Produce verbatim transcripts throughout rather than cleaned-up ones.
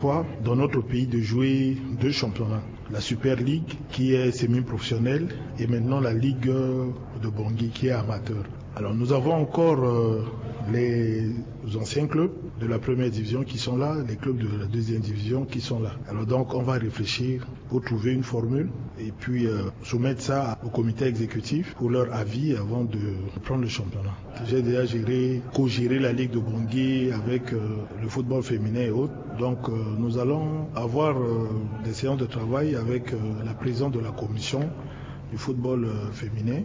fois dans notre pays de jouer deux championnats, la Super League qui est semi-professionnelle et maintenant la Ligue de Bangui qui est amateur. Alors nous avons encore euh, les anciens clubs de la première division qui sont là, les clubs de la deuxième division qui sont là. Alors donc on va réfléchir pour trouver une formule et puis euh, soumettre ça au comité exécutif pour leur avis avant de prendre le championnat. J'ai déjà géré, co-géré la Ligue de Bangui avec euh, le football féminin et autres. Donc euh, nous allons avoir euh, des séances de travail avec euh, la présidente de la commission du football euh, féminin.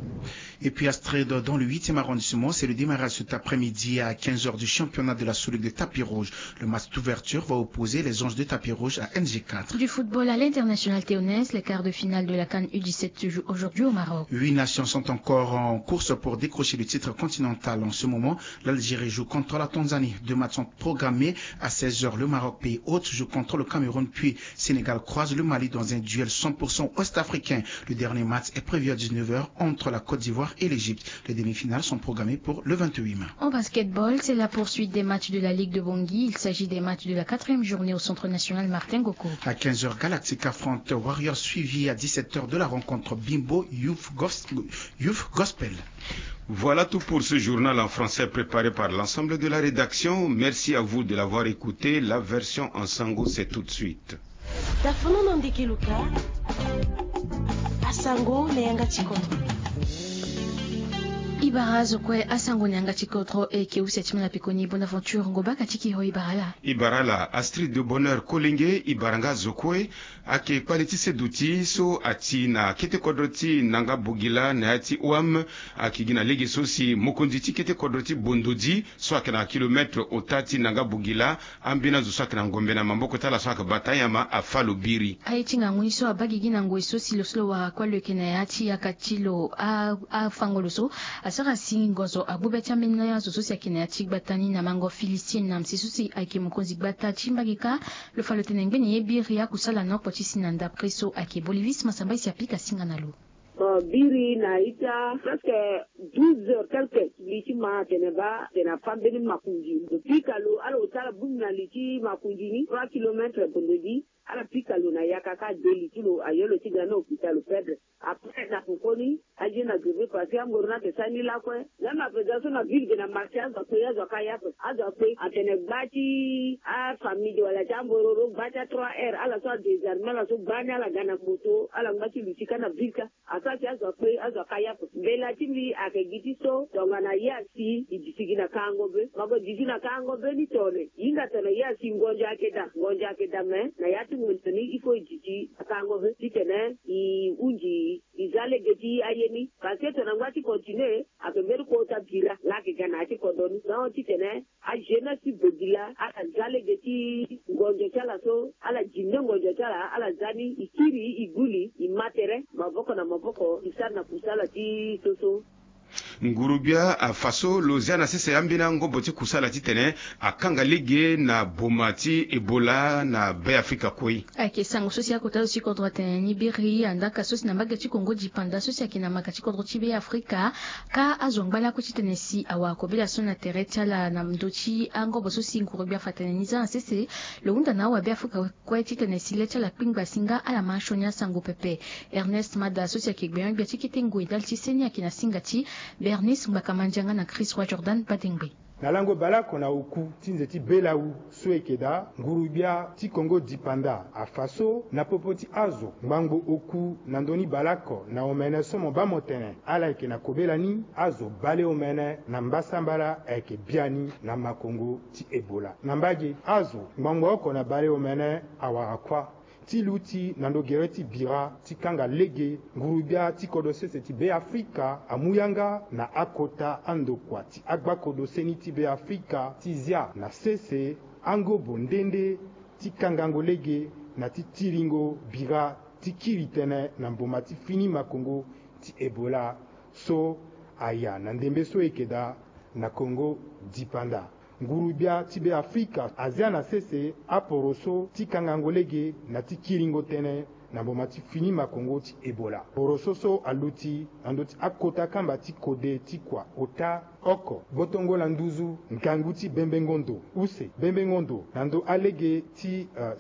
Et puis à Strid, dans le huitième arrondissement, c'est le démarrage cet après-midi à quinze heures du championnat de la sous-ligue de tapis rouge. Le match d'ouverture va opposer les Anges de tapis rouge à N G quatre. Du football à l'international téonaise, les quarts de finale de la CAN U dix-sept se jouent aujourd'hui au Maroc. Huit nations sont encore en course pour décrocher le titre continental en ce moment. L'Algérie joue contre la Tanzanie. Deux matchs sont programmés à seize heures. Le Maroc, pays hôte, joue contre le Cameroun, puis Sénégal croise le Mali dans un duel cent pour cent ouest-africain. Le dernier match est prévu à dix-neuf heures entre la Côte d'Ivoire et l'Égypte. Les demi-finales sont programmées pour le vingt-huit mai. En basketball, c'est la poursuite des matchs de la Ligue de Bangui. Il s'agit des matchs de la quatrième journée au Centre national Martin Ngoko. À quinze heures, Galactic affronte Warriors, suivi à dix-sept heures de la rencontre Bimbo Youth Gos- Youth Gospel. Voilà tout pour ce journal en français préparé par l'ensemble de la rédaction. Merci à vous de l'avoir écouté. La version en sango, c'est tout de suite. Dafono na ndeke luka. Asango na yanga ti kodro. I bara azo kue asango na yanga ti kodro e ke use ti mala pekoni. Bonaventure Ngobaka ti kiro i bara la. I bara la Astrid de Bonheur Kolenge, i bara nga azo kue. Ayeke kpale ti seduti so ati na kete kodro ti Nanga Bogila na ya ti O M. Ayeke gi na lege so si mokonzi ti kete kodro ti Bondodi so ayeke na kilometre ota ti Nanga Bogila, ambeni azo so ayeke na ngombe na maboko ti ala so ayeke bata anyama afâ lo biri. Aye ti ngangu ni so abaa gigi na ngoi so si lo so lo wara kue lo yeke na ya ti yaka ti lo a- afango lo so asara si ngonzo agbu be ti ambeni azo so si ayeke na ya ti gbata ni na mango Philistin na mese so si ayeke mokonzi gbata ti mbage kâ. Lo fa lo tene ngbene ye biri akusala na oko ti si na ndapre so ayeke Bolivis Masamba e si apika singa na lo. Bon, biri na ita presque douze heures quelque, li ti ma atene baa atene afâ mbeni makonzi. Lo pika lo, ala ota ala bongbi na li ti makonzi ni trois kilomètres, Bondodi. Ala pika lo na yaka kâ, de li ti lo ayo lo ti ga na hôpital, lo perdre. Après na pokoni aye na greve parce que angoro ni ayeke sara ni lakue. Même à présent so na ville ge na marché azo akpe, azo aka ya ape. Azo akpe atene gba ti afamille de wala ti ambororo, gba ti a trois R, ala so adésarme, ala so gba ni, ala ga na moto, ala ngba ti luti kâ na ville kâ. Asara si azo akpe, azo aka ya ape. Mbela ti mbi ayeke gi ti so tongana ye asi e disi gi na kango be. Mago disi na kango be ni tone. Hinga tongana ye asi ngonzo ayeke daa, ngonzo ayeke daa, me na ya ti ngonzo ni il faut e disi na kango be titene e hunzi e za lege ti aye ni. Parce que tongana ngba ti continuer, ayeke mbeni kota bira laa ayeke ga na ya ti kodro ni. Donc titene ajeunesse ti Bogila ala za lege ti ngonzo ti ala so, ala dinde ngonzo ti ala, ala za ni, e kiri, e gbu li, e ma tere maboko na maboko, e sara na kusala ti so so. Nguru-gbia afa so lo zia na sese ambeni angobo ti kusala titene akanga lege na boma ti Ebola na Be Afrika kue. Ayeke sango so si akota zo ti kodro atene ni biri andaka so si na mbage ti Kongo dipanda so si ayeke na maka ti kodro ti Be Afrika. Kâ azo ngba lakue titene si awara kobela so na tere ti ala na ndö ti angobo so si nguru-gbia afa atene ni za na sese. Lo hunda na awabe Afrika kue titene si le ti ala kpingba si nga ala ma sioni asango pepe. Ernest Mada so si ayeke gbenyo-gbia ti kete ngoi ndali ti seni ayeke na singa ti Bernice Ngbaka Mandianga na Chris Roi Jordan Badengbe. Na lango baleoko na oku ti nze ti belawu so e yeke daa, nguru-gbia ti Kongo dipanda afa so na popo ti azo ngbangbo oku na ndö ni baleoko na omene so mo baa mo tene ala yeke na kobela ni, azo baleomene na mbasambala ayeke biani na makongo ti Ebola. Na mbage, azo ngbangbo oko na baleomene awara kuâ. Ti luti na ndo gere ti bira ti kanga lege nguru-gbia ti kodro sese ti Be Afrika amu yanga na akota andokua ti agbakodro seni ti Be Afrika ti zia na sese angobo nde nde ti kangango lege na ti tiringo bira ti kiri tënë na mboma ti fini makongo ti Ebola so aya na ndembe so e yeke daa na Kongo dipanda. Nguru-gbia ti Be Afrika azia na sese aporoso ti kangango lege na ti kiringo tënë na mboma ti fini makongo ti Ebola. Boro so so aluti na ndö ti akota kamba ti kode ti kua ota oko gbotongo na nduzu ngangu ti bembengo ndo use bembengo ndo na ndö alege ti uh,